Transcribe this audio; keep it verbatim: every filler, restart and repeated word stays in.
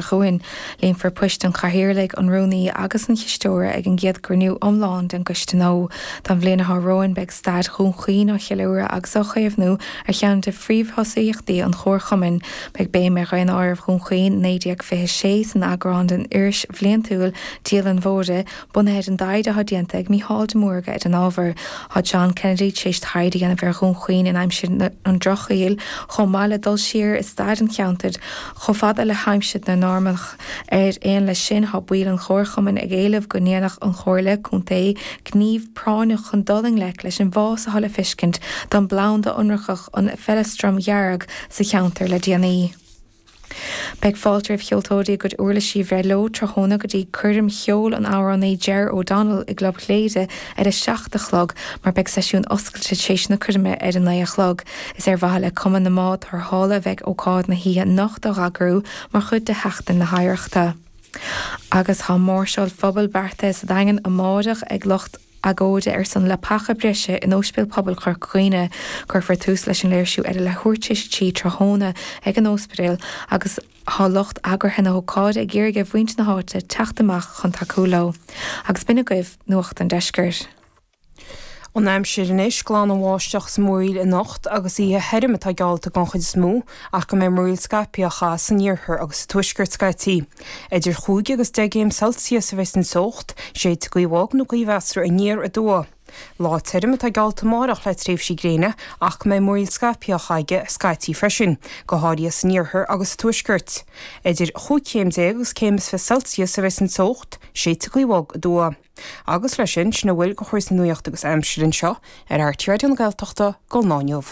chugainn. Líonfar poist an Chathaoirligh, an Rúnaí agus an Chisteora ag an gcéad gcruinniú iomlán den gcoiste nua. Don bhliain atá romhainn beidh staid Dhún Chaoin á cheiliúradh agus á chaomhnú ar cheann de phríomhthosaíochtaí an Chomharchumainn. Beidh béim ar Dhaonáireamh Dhún Chaoin naoi déag fiche sé san eagrán den iris bhliantúil Dialann Mhóire, bunaithe ar an dtaighde atá déanta ag Mícheál de Mórdha ar an ábhar. Tá John Kennedy tar éis taighde a dhéanamh ar Dhún Chaoin in aimsir an Drochshaoil, chomh maith le dul siar i stair an cheantair chomh fada le haimsir na Normannach. Ar aon leis sin, tá baill an Chomharchumainn ag éileamh go ndéanfadh an Chomhairle Contae gníomh práinneach chun dul i ngleic leis an bhfás atá le feiscint don bplanda ionracach an feileastram dhearg sa cheantar le déanaí. Beidh fáilte roimh cheoltóirí a gcuid uirlisí a bhreith leo tráthnóna go dtí coirm cheoil an amhránaí Ger O'Donnell i gClub Chléire ar a seacht a chlog mar beidh seisiún oscailte tar éis na coirme ar a naoi a chlog. Is ar mhaithe le Cumann na mBád Tarrthála a bheidh ócáid na hoíche anocht á eagrú mar chuid de Sheachtain na hOidhreachta. Agus tá máirseáil phobail beartaithe sa Daingean amáireach ag lucht agóide ar son leapacha breise in Ospidéal Pobail Chorca Dhuibhne. Cuirfear tús leis an léirsiú ar a leathuair tar éis a trí tráthnóna ag an ospidéal agus tá lucht eagraithe na hócáide ag iarraidh ar mhuintir na háite teacht amach chun tacú leo. Agus b'in agaibh Nuacht an Deiscirt. An aimsir anois glan an bháisteach is múraíl anocht agus oíche thirim atá geallta den chuid is mó ach go mbeidh múraíl scaipthe á chaitheamh san iarthar agus sa tuaisceart scaití. Idir chúig agus deich gcéim Celsius a bheas an teocht, séidfidh gaoth bhog nó gaoth mheasartha aniar aduaidh. Lá tirim atá geallta amárach le tréimhsí gréine ach go mbeidh múraíl scaipthe á chaitheamh scaití freisin, go háirithe san iarthar agus sa tuaisceart. Idir chúig chéim déag agus céim is fiche Celsius a bheas an teocht, séidfidh gaoth bhog aduaidh. Agus leis sin, sin a bhfuil de chúrsaí nuachta agus aimsire anseo ar RTÉ Raidió na Gaeltachta go lá inniu.